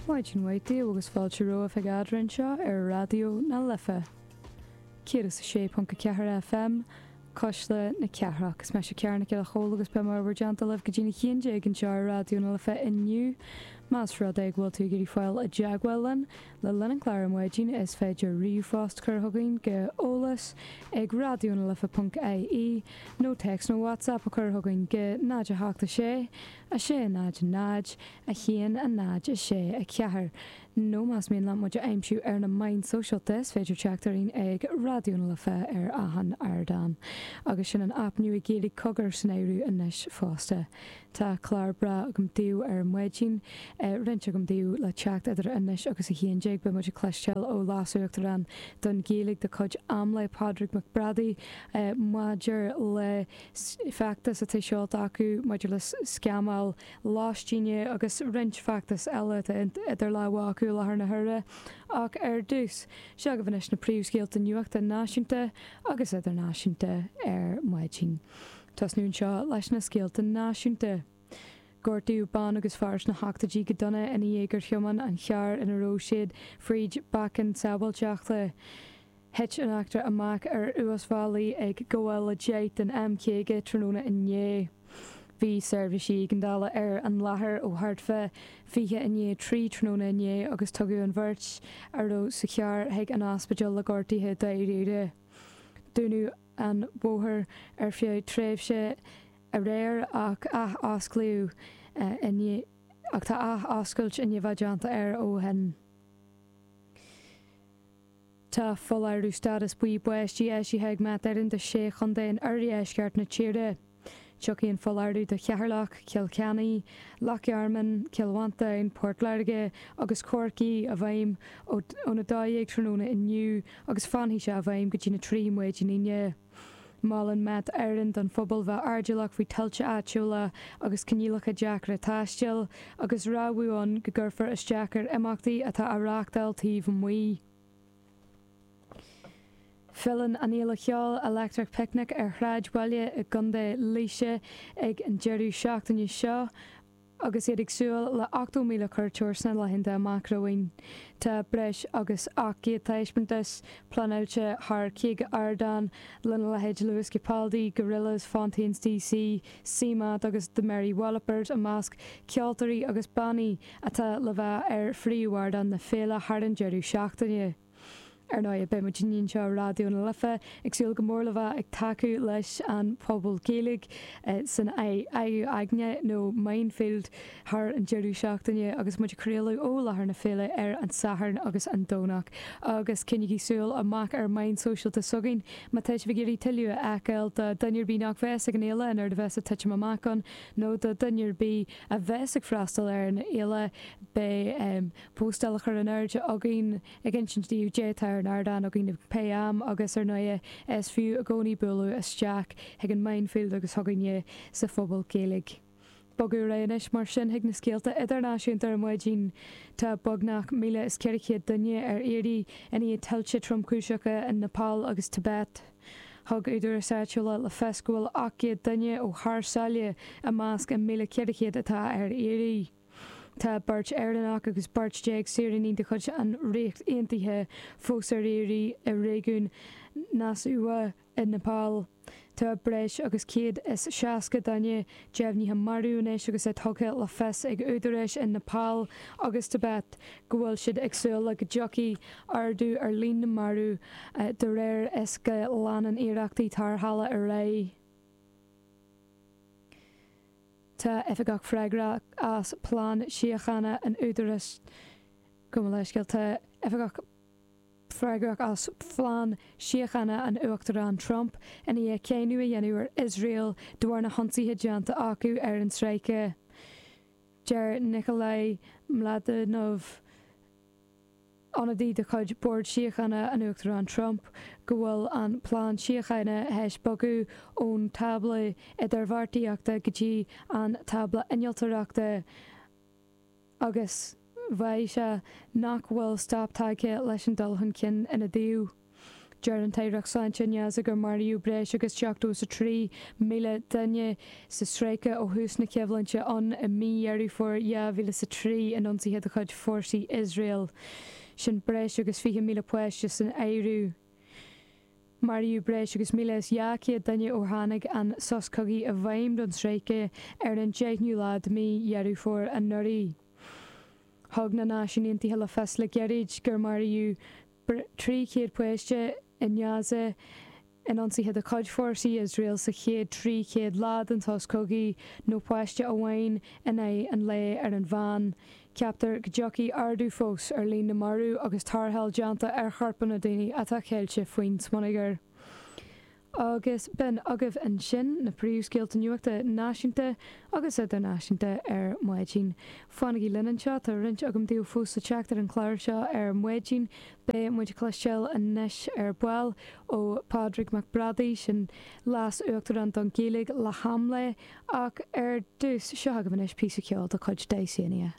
Maidin mhaith daoibh agus fáilte romhaibh chuig Eadrainn anseo ar Raidió na Life 106.4 FM, Cuisle na Cathrach. Is mise Ciara Nic Giolla Chóill agus beidh mé i bhur dteannta libh go dtí'n 11 anseo ar Raidió na Life inniu. Más rud é go bhfuil tú ag iarraidh fáil i dteagmháil linn le linn an chláir ar maidin is féidir ríomhphost a chur chugainn go eolas ag raidionalife.ie nó téacs nó WhatsApp a chur chugainn go 0 8 6 6 0 0 1 0 6 4 Nó más mian leat muid a aimsiú ar na meáin sóisialta is féidir teacht orainn ag Raidió na Life ar achan ardán. Agus sin an aip nua Gaeilge Cogar san áireamh anois fosta. Tá clár breá agam daoibh ar maidin, roinnt agam daoibh le teacht idir anois agus 11. Beidh muid ag cloisteáil ó Leas-Uachtarán don Ghaeilge de chuid AMLÉ, Pádraig Mac Brádaigh, maidir le feachtas atá seolta acu maidir le scamáil lóistíne agus roinnt feachtas eile atá idir lámha acu i láthair na huaire. Ach ar dtús, seo agaibh anois na príomhscéalta nuachta náisiúnta agus idirnáisiúnta ar maidin. Tosnú anseo leis na scéalta náisiúnta. Gortaíodh bean agus fear sna hochtóidí go dona ina dhiaidh gur thiomáin an charr ina raibh siad fríd bacainn sábháilteachta. Thit an eachtra amach ar uasbhealaí ag gabháil a 10 den M50 tráthnóna inné. Bhí seirbhísí éigeandála ar an láthair ó thart fá 3:20 tráthnóna inné agus tugadh an bheirt a raibh sa charr chuig an ospidéal le gortuithe dáiríre. Dúnadh an bóthar ar feadh tréimhse aréir ach ath-osclaíodh ach tá ath-oscailt i ndiaidh bheith déanta air ó shin. Tá foláireamh stádas buí báistí eisithe ag Met Éireann do shé chontae in oirdheisceart na tíre. Tiocfaidh an foláireamh do Cheatharlach, Cill Chainnigh, Loch Garman, Cill Mhantáin, Port Láirge agus Corcaigh i bhfeidhm óna 12 tráthnóna inniu agus fanfaidh sé i bhfeidhm go dtína 3 maidin Aoine. Molann Met Éireann don phobal bheith airdeallach faoi tuilte áitiúla agus coinníollacha deacra taistil, agus rabhadh ann go gcuirfear isteach ar imeachtaí atá á reáchtáil taobh amuigh. Filleann an fhéile cheoil Electric Picnic ar shráidbhaile i gContae Laoise ag an deireadh seachtaine seo. Agus iad ag súil le 80,000 cuairteoir sna laethanta amach romhainn, tá breis agus 800 taispeántas pleanáilte thar 50 ardán, lena leithéid Lewis Capaldi, Gorillaz, Fontaines DC, CMAT agus The Mary Wallopers i measc ceoltóirí agus bannaí atá le bheith ar phríomhardán na féile thar an deireadh seachtaine. Ar ndóigh, beidh muid anseo i Raidió na Life ag súil go mór le bheith ag tacú leis an phobal Gaeilge san Fhaiche Aigne nó Mindfield thar an deireadh seachtaine agus muid ag craoladh ó láthair na féile ar an Satharn agus an Domhnach. Agus coinnígí súil amach ar meáin sóisialta s'againn má tá sibh ag iarraidh tuilleadh a fheiceáil do dhuine ar bith nach bheas ag an fhéile an éard a bheas ag titim amach ann nó do dhuine ar bith a bheas ag freastal ar an fhéile beidh postáil á chur in airde againn ag insint daoibh cad é atá ar an ardán againn ag pé am agus ar ndóighe is fiú i gcónaí bualadh isteach chuig an Mindfield agus chugainne sa Phuball Gaeilge. Bogadh ar aghaidh anois mar sin chuig na scéalta idirnáisiúnta ar maidin. Tá beagnach 1,400 duine ar iarraidh i ndiaidh tuilte tromchúiseacha in Nepal agus Tibet. Thug údaráis áitiúla le fios go bhfuil 800 duine ó thar sáile i measc an 1,400 atá ar iarraidh. Tá beirt Éireannach agus beirt saoránaigh de chuid an Ríocht Aontaithe fós ar iarraidh i réigiún Rasuwa i Nepal. Tá breis agus 160 duine deimhnithe marbh anois agus é tugtha le fios ag údaráis in Nepal agus Tibet go bhfuil siad ag súil le go dtiocfaidh ardú ar líon na marbh de réir is go leanann iarrachtaí tarrthála ar aghaidh. Tá oifigeach freagrach as plean síochána an Údaráis, gabh mo leithscéal, tá oifigeach freagrach as phlean síochána an Uachtaráin Trump i ndiaidh cáineadh a dhéanamh ar Iosrael de bharr na hionsaithe déanta acu ar an stráice. Deir Nickolay Mladenov. ionadaí de chuid Bhord Síochána an Uachtaráin Trump, go bhfuil an plean síochána théis bogadh ón tábla idirbheartaíochta go dtí an tábla innealtóireachta agus mhaígh sé nach bhfuil stop tagtha leis an dul chun cinn ina dtaobh. Deir an tAireacht Sláinte i nGaza gur maraíodh breis agus 73,000 duine sa stráice ó thús na coimhlinte ann i mí Dheireadh Fómhair 2003 in ionsaithe de chuid fórsaí Iosrael. Sin breis agus 20,000 páiste san áireamh. Maraíodh breis agus 1,200 duine ó tháinig an sos cogaidh i bhfeidhm don stráice ar an 10ú lá de mhí Dheireadh Fómhair anuraidh. Thug na Náisiúin Aontaithe le fios le gairid gur maraíodh 300 páiste i nGaza in ionsaithe de chuid fórsaí Iosrael sa chéad 300 lá den sos cogaidh, nó páiste amháin in aghaidh an lae ar an mheán. Ceaptar go dtiocfaidh ardú fós ar líon na marbh agus tarrtháil déanta ar chorpanna daoine atá ceilte faoin smionagar. Agus b'in agaibh ansin na príomhscéalta nuachta náisiúnta agus idirnáisiúnta ar maidin. Fanaigí linn anseo, tá roinnt agam daoibh fós le teacht ar an chlár seo ar maidin. Beidh muid ag cloisteáil anois ar ball ó Pádraig Mac Brádaigh, sin Leas-Uachtarán don Ghaeilge le hAmlaigh, ach ar dtús, seo agaibh anois píosa ceoil de chuid Dysania.